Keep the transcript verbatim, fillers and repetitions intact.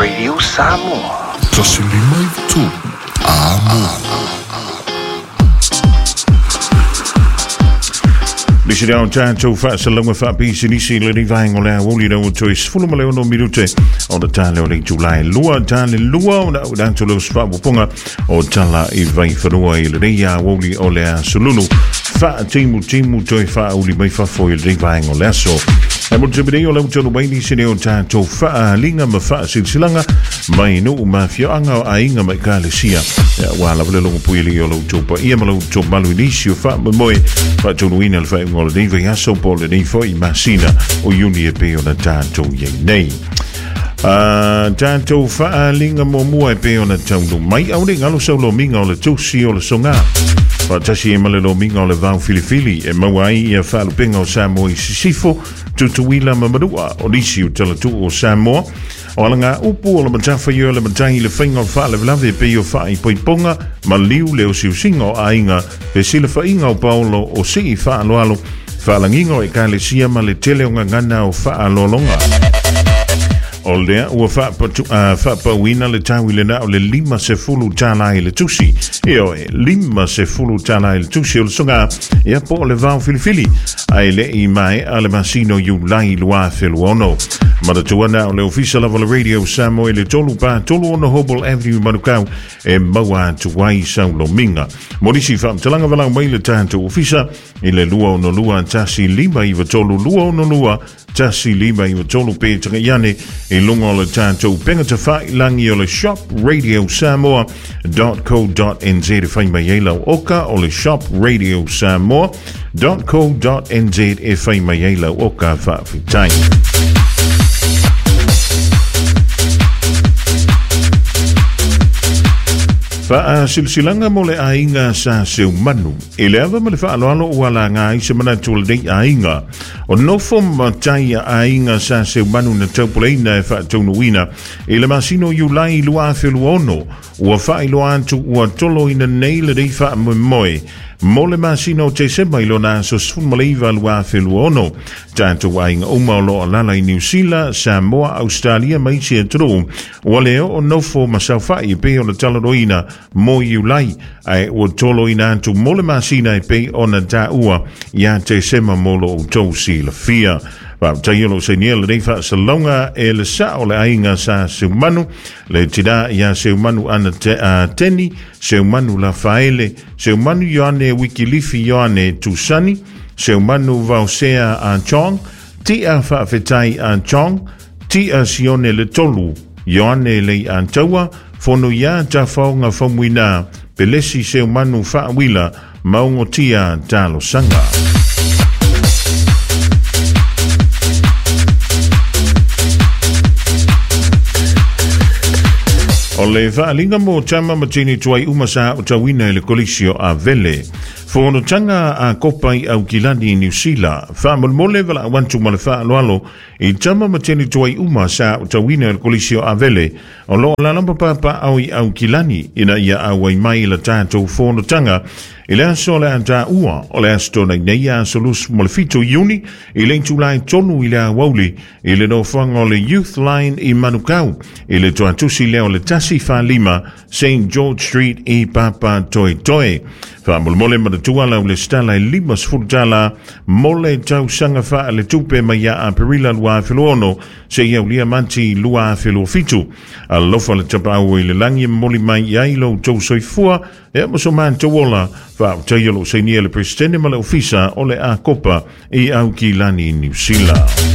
Radio Samoa. Tasi lima i tolu. Amo. Lisi reo tātou whaasalauga whaapisinisi le rivaengo le awoli reo toi sefulu ma le ono minute o le tale o le Julai lua tale lua o na udanto leo sfaapupunga o tala i vaiwhanua i le rei awoli o le asolulu whaatimu timu toi whaauli mai fafo i le rivaengo le aso. E mo te o lau tolu mai nisi reo tātou whaalinga ma whaasilsilanga mai nuu mafioanga o ainga mai kalesia. Wa la vele longo puili o lau taupa ia ma lau tau malu nisi o whaamoe whaatunuina le whaingo le nei aso po le nei foi masina o Iuni e pe o na tātou iei nei. Uh, tātou whaalinga muamua e pe o na taunu mai au le ngalo sau lo minga o le tusi o le songa. Whaatasi e male lo minga o le vau filifili e maua ai ia whaalupenga o Samoa i Sisifo Tutuila ma Manua o nisi o talatu o Samoa. O alanga upu o le matafa i o le matai le whainga o whaalewelave pe o whaai poiponga ma liu le o siusinga o ainga pe sila whainga o Paolo o sii whaaloalo whaalanginga o e kalesia ma le tele o ngangana o whaalolonga. O lea ua whaapauina le tau i le nao le lima se fulu tāla i le tusi. E oe, lima se fulu tāla i le tusi o le songa ia po o le vau filifili. Ai le i mai a le masino Iulai lua feluono. Manatua o le ofisa lava le Radio Samoa i le tolu pa tolu ono Hobble Avenue Manukau e maua atu ai saulominga. Morisi whaamtalanga walau mai le tātou ofisa i le lua ono lua tasi lima iwa tolu lua ono lua tasi lima iwa tolu pe tanga iane i lunga o le tātou penga te whailangi o le shop radio samoa dot co dot n z e whai mai e lau oka o le shop radio samoa dot co dot n z e whai mai e lau oka whaawhitai. Whaasilsilanga mo le ainga sa seumanu. I le awa ma le whaaloalo ua la ngā i se manatu le nei ainga. O nofo matai a ainga sa seumanu na taupuleina e whaataunuina. I le masino Iulai lua feluono. Ua whaailoa atu ua tolo ina nei le nei whaamoemoe. Mo le masino te sema i lona aso sefulu ma le iva lua feluono. Tātou ainga uma o loa lala i New Zealand, Samoa, Australia, ma isi atunuu. Ua leo o nofo masaufai e pe o le talanoina mo Iulai. Ae ua tolo ina atu mo le masina e pe o na tāua ia te sema mo lo o tau silafia. Wā lo se nia le nei whaasalonga e le sao le ainga sa seumanu, le tina ia seumanu ana te, a teni, seumanu la faele, seumanu Ioane Wikilifi Ioane Tusani, seumanu Vausea a Chong, tia whaafetai a Chong, tia Sione le tolu, Ioane le Antaua, fono ia ta whaonga whamuina, pelesi seumanu whaawila, maungo tia talosanga. O le whaalinga mo tama matini tuai umasa o tauina i le kolisio a Vele. Whonotanga a kopai au kilani New Zealand. Whaamolmole wala awantu ma le whaaloalo i tama matini tuai umasa o tauina i le kolisio a Vele. O loa lalamba papa au i au kilani ina ia au ai mai la tātou whonotanga. I le aso le ata ua o le aso nei nei aso lusu mo le fito Iuni i le Julai tonu i le awauli i le nofoanga o le Youth Line i Manukau i le tuatusi leo le tasi whalima Saint George Street i Papa Toi Toi. Whaamolmole manatua lau le stala i lima sefulu mo le tausaga whaa le tupe mai ia Aperila lua feluono se ia ulia manti lua feluofitu. Alofa le tapau i le langi moli mai ai lo tau soifua e mo so ola wha lo seinia le presidente ma le ofisa o le a kopa i au ki lani New Zealand.